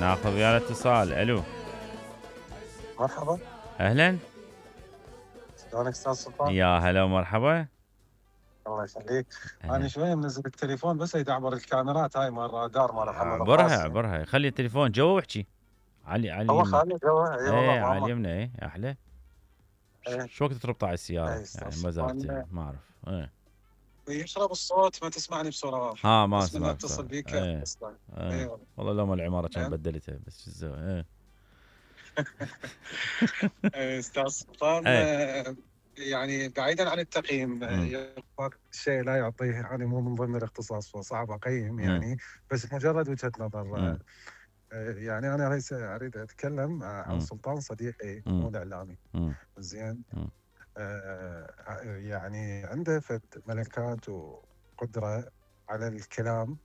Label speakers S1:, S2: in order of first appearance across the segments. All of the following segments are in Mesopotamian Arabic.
S1: ناخذ ويا الاتصال. الو
S2: مرحبا.
S1: اهلا.
S2: شلونك استاذ سلطان؟
S1: يا هلا ومرحبا.
S2: الله يخليك.
S1: أهلا.
S2: انا شويه منزل التليفون بس يدعبر الكاميرات هاي مال الرادار مال محمد
S1: عبرها
S2: القاسم.
S1: عبرها، خلي التليفون جوا واحكي. علي
S2: هو
S1: اليمنى.
S2: خالد جوا. اي والله
S1: ايه على
S2: ماما.
S1: اليمنى. ايه احلى.
S2: ايه.
S1: شو وقت تربطه على السياره
S2: ايه استاذ
S1: يعني مزارتي
S2: سلطان.
S1: ما اعرف. ايه
S2: يشرب الصوت ما تسمعني بصوره واضحه.
S1: ها ما
S2: بس من
S1: اسمعك
S2: اتصل
S1: صار.
S2: بيك
S1: ايه
S2: اصلا.
S1: ايه
S2: اي والله.
S1: والله لو ما العماره كان
S2: إيه.
S1: بدلتها بس شو تسوي. ايه
S2: إيه استاذ سلطان.
S1: ايه
S2: يعني بعيدا عن التقييم شيء لا يعطيه، يعني مو من ضمن الاختصاص فصعب اقيم يعني، بس مجرد وجهه نظر. يعني انا ليس اريد اتكلم عن سلطان صديقي مو الاعلامي. زين. يعني عنده ملكات وقدره على الكلام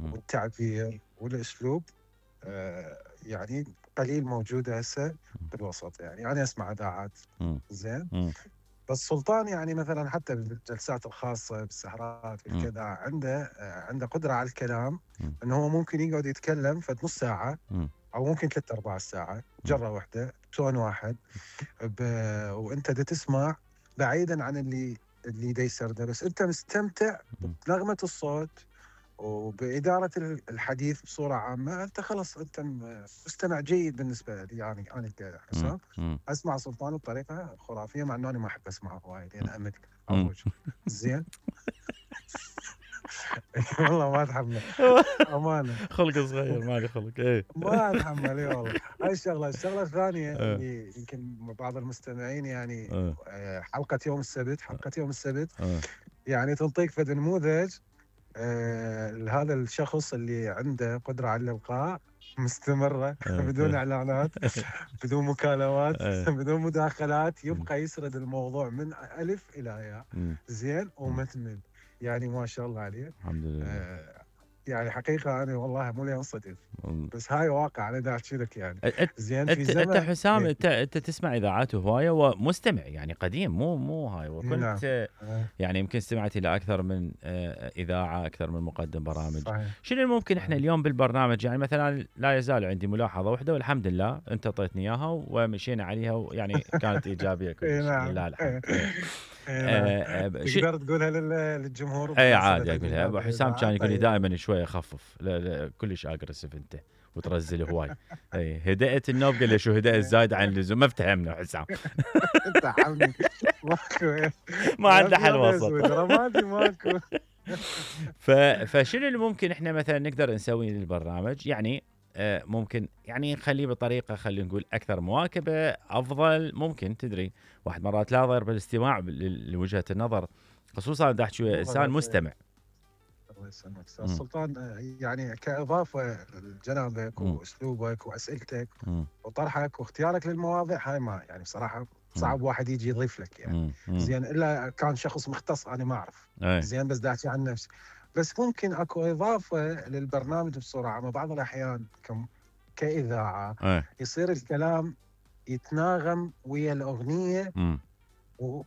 S2: والتعبير والاسلوب. يعني قليل موجوده هسه بالوسط. يعني انا اسمع اذاعات. زين. بس سلطان يعني مثلا حتى بالجلسات الخاصه بالسهرات بالكذا عنده قدره على الكلام، انه هو ممكن يقعد يتكلم فد نص ساعه او ممكن 3/4 ساعه جره واحده بتون واحد وانت دا تسمع بعيدا عن اللي دا يسرده، بس انت مستمتع بنغمه الصوت وبإدارة الحديث بصورة عامة. أنت خلص أنت مستمع جيد بالنسبة لي. يعني أنا كحسام أسمع سلطان بطريقة خرافية، مع أنه أنا ما أحب أسمعه وايد لأن أمل أروج. زين. والله ما أتحمل أمانة.
S1: خلق صغير مالي خلق. إيه
S2: ما أتحمل. إي والله. هاي الشغلة الثانية اللي يمكن بعض المستمعين يعني حلقة يوم السبت يعني تنطيك فد نموذج هذا الشخص اللي عنده قدرة على الإلقاء مستمرة بدون إعلانات بدون مكالمات بدون مداخلات، يبقى يسرد الموضوع من ألف إلى ياء. زين ومثمن. يعني ما شاء الله عليه.
S1: الحمد لله.
S2: يعني حقيقة أنا والله مو لي أنصدم، بس هاي واقع أنا دا أحكي لك يعني. زين. في زمن
S1: انت حسام انت تسمع اذاعات هوايه ومستمع يعني قديم مو هاي وكنت يعني يمكن استمعت الى اكثر من اذاعه، اكثر من مقدم برامج. صحيح. شنو الممكن احنا اليوم بالبرنامج يعني مثلا لا يزال عندي ملاحظه واحده والحمد لله انت اعطيتني اياها ومشينا عليها ويعني كانت ايجابيه كلش. لله الحمد.
S2: تقدر تقولها للجمهور.
S1: اي عادي اقولها. ابو حسام كان يقول لي دائما شويه خفف. لا كلش اجريسيف انت وترزل هواي. اي هدأت النوب. قال لي شو هدأت زايد عن اللزوم. ما افتهمنا حسام.
S2: انت حمني ماكو.
S1: ما عنده حل وسط.
S2: ماكو.
S1: فشنو اللي ممكن احنا مثلا نقدر نسوي للبرنامج يعني ممكن يعني نخليه بطريقه خلينا نقول اكثر مواكبه افضل. ممكن تدري واحد مرات لا ضير بالاستماع لوجهه النظر، خصوصا اذا احكي انسان مستمع.
S2: الله يسلمك استاذ سلطان. يعني كاضافه لجنابك واسلوبك واسئلتك وطرحك واختيارك للمواضيع هاي ما يعني بصراحه صعب واحد يجي يضيف لك يعني. زين الا كان شخص مختص انا ما اعرف. زين بس دا احكي عن نفسي. بس ممكن اكو اضافه للبرنامج بصوره عامه. بعض الاحيان كاذاعه يصير الكلام يتناغم ويا الاغنيه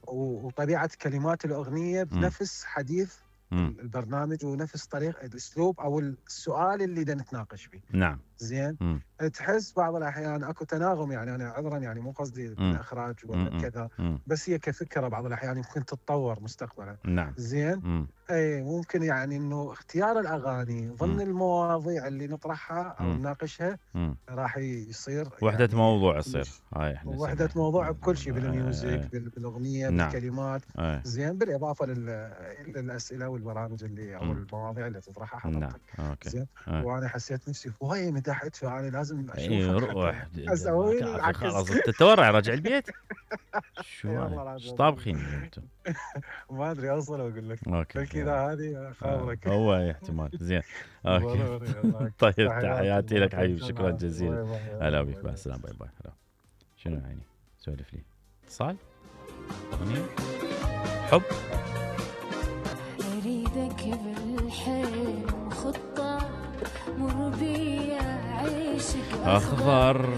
S2: وطبيعه كلمات الاغنيه بنفس حديث البرنامج ونفس طريقه الاسلوب او السؤال اللي دا نتناقش فيه.
S1: نعم.
S2: زين. تحس بعض الاحيان اكو تناغم. يعني انا عذرا يعني مو قصدي الاخراج ولا كذا، بس هي كفكره بعض الاحيان ممكن تتطور مستقبلا.
S1: نعم.
S2: زين. اي ممكن يعني انه اختيار الاغاني ضمن المواضيع اللي نطرحها او نناقشها راح يصير
S1: وحده يعني موضوع يصير. هاي احنا
S2: وحده موضوع بكل شيء بالميوزك بالاغنيه بالكلمات. زين بالاضافه للاسئله والبرامج اللي او المواضيع اللي تطرحها حضرتك. زين. وانا حسيت نفسي هوايه مدحت فانا لازم اشوفك
S1: روح
S2: اسوي العكس.
S1: خلاص تتورع راجع البيت. شو طابخين انتم؟
S2: ما ادري اوصل واقول لك. بلكي اذا هذه خابرك.
S1: هو احتمال. زين. اوكي. طيب تحياتي لك حبيبي. شكرا جزيلا. هلا بك. مع السلامه. باي باي. شنو يعني سولف لي اتصال حب اريدك بالحلم خطه مر بيا عيشك اخضر